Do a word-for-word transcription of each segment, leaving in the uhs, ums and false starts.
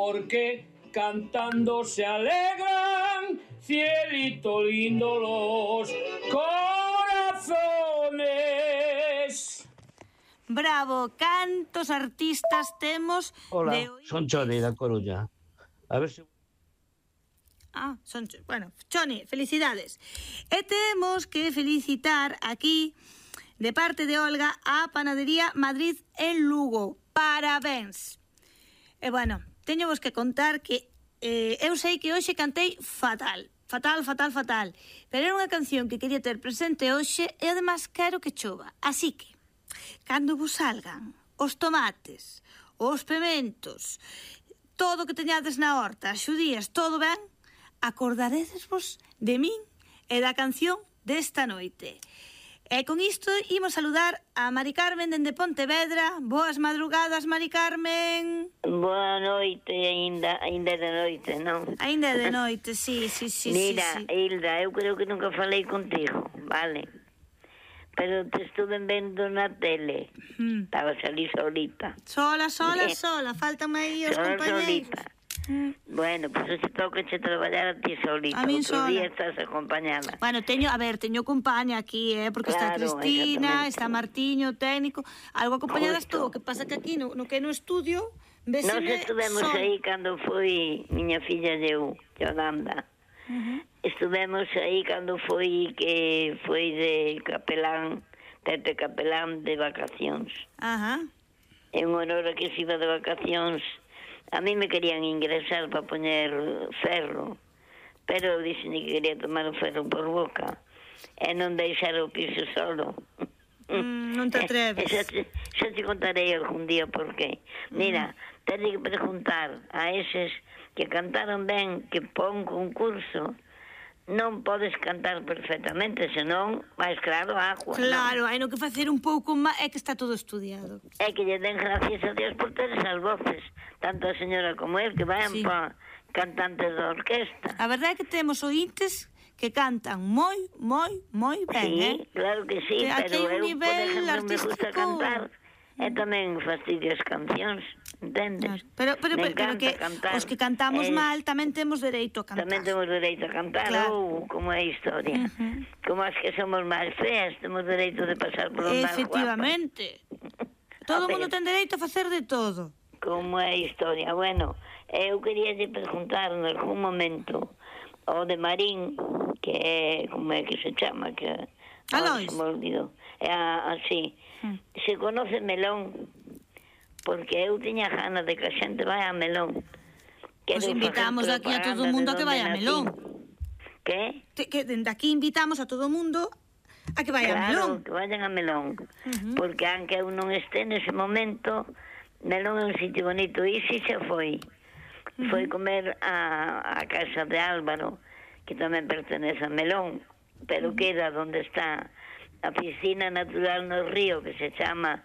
porque cantando se alegran, cielito lindo los corazones. Bravo, cantos artistas temos. Hola, de hoy. Son Choni da Coruña. A ver se... Ah, son, bueno, Choni, felicidades. E temos que felicitar aquí, de parte de Olga, a Panadería Madrid en Lugo. Parabéns. E bueno, teño vos que contar que eh, eu sei que hoxe cantei fatal. Fatal, fatal, fatal. Pero era unha canción que quería ter presente hoxe e además quero que chova. Así que, cando vos salgan os tomates, os pementos, todo o que teñades na horta, as xudías, todo ben, acordaredesvos de min e da canción desta noite. E con isto imos saludar a Mari Carmen dende Pontevedra. Boas madrugadas, Mari Carmen. Boa noite, ainda, ainda de noite, non? Ainda de noite, sí, sí, sí. Mira, sí, sí. Hilda, eu creo que nunca falei contigo, vale? Pero te estuve vendo na tele. Mm. Estaba salí solita. Sola, sola, Eh, sola. Faltan aí os Sola, compañeiros. solita. Mm. Bueno, pues se toca che traballar a ti solita. A min Outro sola. día estás acompañada. Bueno, teño, a ver, teño compaña aquí, eh, porque está Claro, Cristina, exactamente. está Martiño, técnico, algo acompañadas Justo. todo, que pasa que aquí no, no que no estudio, Nos véseme estuvemos sola. aí cando foi miña filla de eu, Yolanda. Uh-huh. Estuvemos aí cando foi que foi de capelán, Tete capelán de vacacións. Ajá. En honor a que se iba de vacacións, a mí me querían ingresar para poñer ferro, pero eu dixen que quería tomar o ferro por boca e non deixar o piso solo. Mm, non te atreves. Xa te, xa te contarei algún día por qué. Mira, mm. tenes que preguntar a eses que cantaron ben que pon concurso. Non podes cantar perfectamente, senón, máis claro, agua. Claro, hai no que facer un pouco máis, é que está todo estudiado. É que lle den gracias a Dios por ter esas voces, tanto a señora como el, que vayan Sí. pa cantantes da orquesta. A verdade é que temos ointes que cantan moi, moi, moi ben, Sí, eh? claro que sí, Que aquí pero hai un eu, por nivel exemplo, me artístico. gusta cantar e tamén fastidio as cancións, entendes? Claro. Pero, pero, Me pero, pero encanta que cantar. os que cantamos Eh, mal tamén temos dereito a cantar. Tamén temos dereito a cantar, Claro. ou como é a historia. Ujú. Como as que somos máis feas, temos dereito de pasar por os máis guapas. Efectivamente. Todo o A mundo ver. ten dereito a facer de todo. Como é a historia. Bueno, eu quería lle preguntar en algún momento o de Marín, que é, como é que se chama, que ahora Alois. se me olvidou. É así. Mm. Se conoce Melón, porque eu tiña ganas de que a xente vai a Melón. Pois Quero invitamos facer aquí a todo o propaganda mundo de a que vai a onde Melón. nací. Que? Te- Que dende aquí invitamos a todo o mundo a que vaya a Claro, Melón. que vayan a Melón. Ujú. Porque aunque eu non este nese momento, Melón é un sitio bonito. E si xa foi. Ujú. Foi comer a, a casa de Álvaro, que tamén pertenece a Melón, pero queda onde está a piscina natural no río, que se chama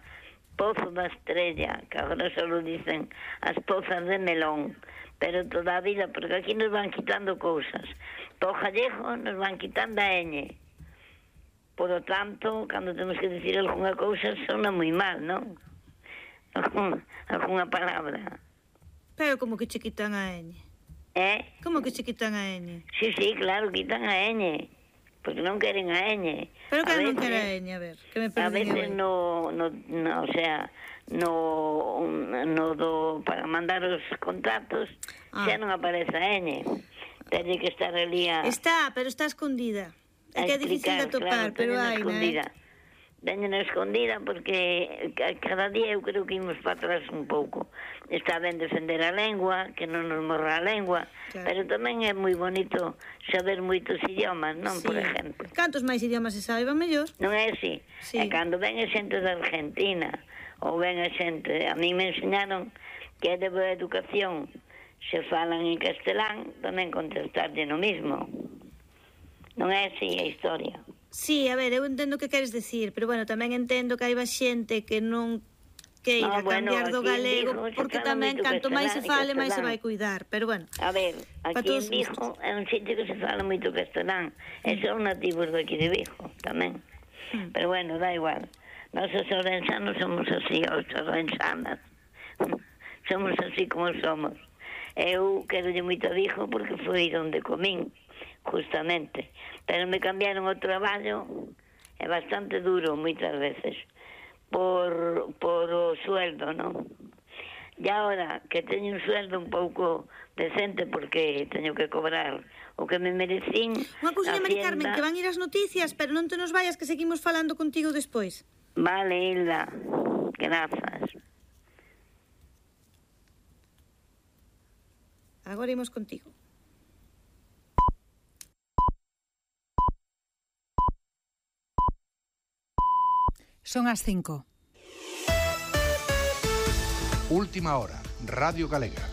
Pozo da Estrella, que agora só dicen as pozas de Melón, pero toda a vida, porque aquí nos van quitando cousas. Po gallego nos van quitando a eñe. Por lo tanto, cando temos que decir algunha cousa, sona moi mal, non? Algún, algunha palabra. Pero como que che quitan a N? Eh? Como que che quitan a N? Sí, sí, claro, quitan a eñe, porque non queren a eñe. Pero que A non veces- quera a N, a ver, que me A perdí veces eu. no, no, no, o sea, no, no do, para mandar os contratos, Ah. xa non aparece a eñe. Teñe que estar ali a... Está, pero está escondida. É a que é difícil de explicar, atopar, pero teñen hai, escondida. né? Teñen escondida porque ca- cada día eu creo que imos para atrás un pouco. Está ben defender a lengua, que non nos morra a lengua, Claro. pero tamén é moi bonito saber moitos idiomas, non, Sí. por exemplo. Cantos máis idiomas se saiban, mellor. Non é así? Sí. E cando ven a xente da Argentina, ou ven a xente, a mí me enseñaron que é de boa educación, se falan en castelán, tamén contestarlle no mismo. Non é así a historia. Sí, a ver, eu entendo o que queres decir, pero bueno, tamén entendo que hai xente que non queira Ah, bueno, cambiar do aquí en galego, Vigo se porque fala tamén moito canto máis se castelán e fale, máis se castelán. vai cuidar, pero bueno. A ver, Pa aquí todos en Vigo é un sitio que se fala moito castelán, e son nativos daqui de Vigo tamén. Mm. Pero bueno, da igual. Nós os orensanos somos así, os orensanas. Somos así como somos. Eu querolle moito a Vigo porque foi onde comín, justamente. Pero me cambiaron o traballo, é bastante duro moitas veces, por, por o sueldo, non? E agora que teño un sueldo un pouco decente porque teño que cobrar o que me merecín. Unha cousa, Mari Carmen, que van ir as noticias, pero non te nos vayas que seguimos falando contigo despois. Vale, Hilda, grazas. Agora imos contigo. Son as cinco. Última hora, Radio Galega.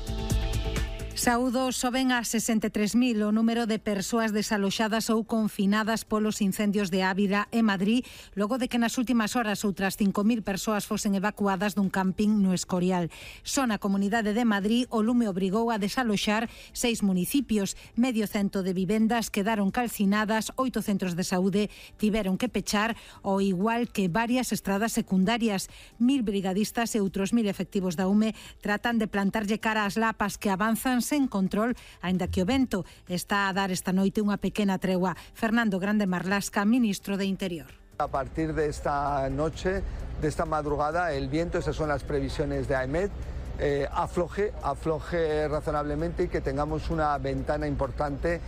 Saúdos, soben a sesenta e tres mil o número de persoas desaloxadas ou confinadas polos incendios de Ávila e Madrid, logo de que nas últimas horas outras cinco mil persoas fosen evacuadas dun camping no Escorial. Só na Comunidade de Madrid o lume obrigou a desaloxar seis municipios, medio cento de vivendas quedaron calcinadas, oito centros de saúde tiveron que pechar, ao igual que varias estradas secundarias. Mil brigadistas e outros mil efectivos da U M E tratan de plantarlle cara ás lapas que avanzan sen control, aínda que o vento está a dar esta noite unha pequena tregua. Fernando Grande Marlasca, ministro de Interior. A partir de esta noche, de esta madrugada, el viento, esas son las previsiones de AEMET, eh, afloje, afloje razonablemente y que tengamos una ventana importante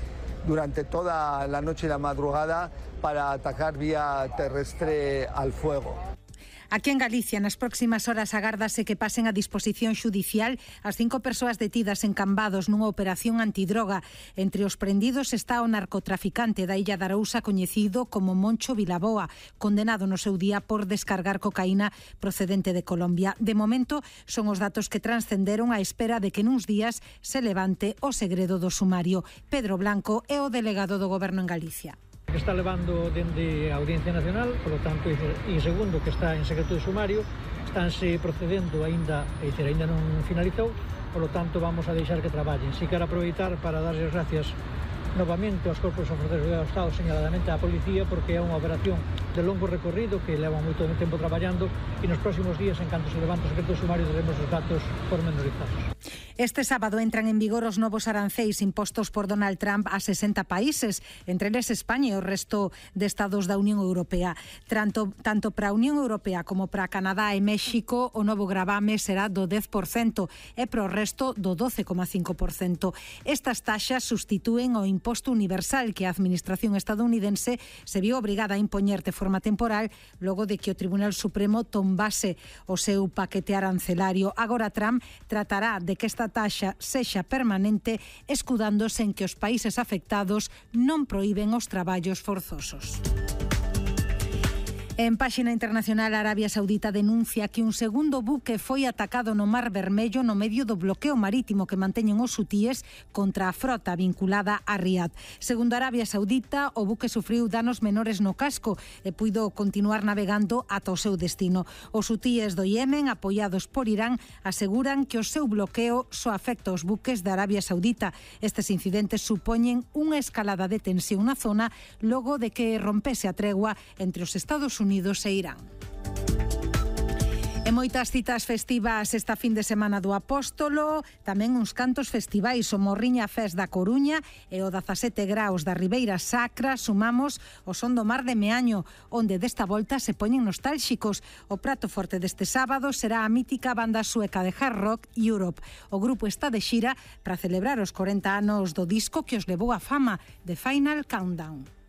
durante toda la noche y la madrugada para atacar vía terrestre al fuego. Aquí en Galicia, nas próximas horas agárdase que pasen a disposición xudicial as cinco persoas detidas en Cambados nunha operación antidroga. Entre os prendidos está o narcotraficante da Illa de Arousa coñecido como Moncho Vilaboa, condenado no seu día por descargar cocaína procedente de Colombia. De momento, son os datos que transcenderon á espera de que nuns días se levante o segredo do sumario. Pedro Blanco é o delegado do Goberno en Galicia. Que está levando dende a Audiencia Nacional, por lo tanto, e segundo que está en secreto de sumario, estánse procedendo aínda, e dizer, aínda non finalizou, por lo tanto, vamos a deixar que traballen. Si quero aproveitar para darles gracias novamente aos corpos e forzas do Estado, señaladamente á Policía, porque é unha operación de longo recorrido que leva moito tempo traballando e nos próximos días, en canto se levante o secreto de sumario, teremos os datos pormenorizados. Este sábado entran en vigor os novos arancéis impostos por Donald Trump a sesenta países, entre eles España e o resto de estados da Unión Europea. Tanto, tanto para a Unión Europea como para Canadá e México, o novo gravame será do dez por cento e para o resto do doce coma cinco por cento. Estas taxas sustitúen o imposto universal que a Administración estadounidense se viu obrigada a impoñer de forma temporal logo de que o Tribunal Supremo tombase o seu paquete arancelario. Agora Trump tratará de que esta taxa sexa permanente, escudándose en que os países afectados non proíben os traballos forzosos. En páxina internacional, Arabia Saudita denuncia que un segundo buque foi atacado no Mar Vermello no medio do bloqueo marítimo que manteñen os hutíes contra a frota vinculada a Riad. Segundo Arabia Saudita, o buque sufriu danos menores no casco e puido continuar navegando ata o seu destino. Os hutíes do Yemen, apoiados por Irán, aseguran que o seu bloqueo só afecta aos buques da Arabia Saudita. Estes incidentes supoñen unha escalada de tensión na zona logo de que rompese a tregua entre os Estados Unidos e Irán. E moitas citas festivas esta fin de semana do Apóstolo, tamén uns cantos festivais, o Morriña Fest da Coruña e o dezasete graus da Ribeira Sacra. Sumamos o Son do Mar de Meaño, onde desta volta se poñen nostálxicos. O prato forte deste sábado será a mítica banda sueca de hard rock Europe. O grupo está de xira para celebrar os corenta anos do disco que os levou á fama, The Final Countdown.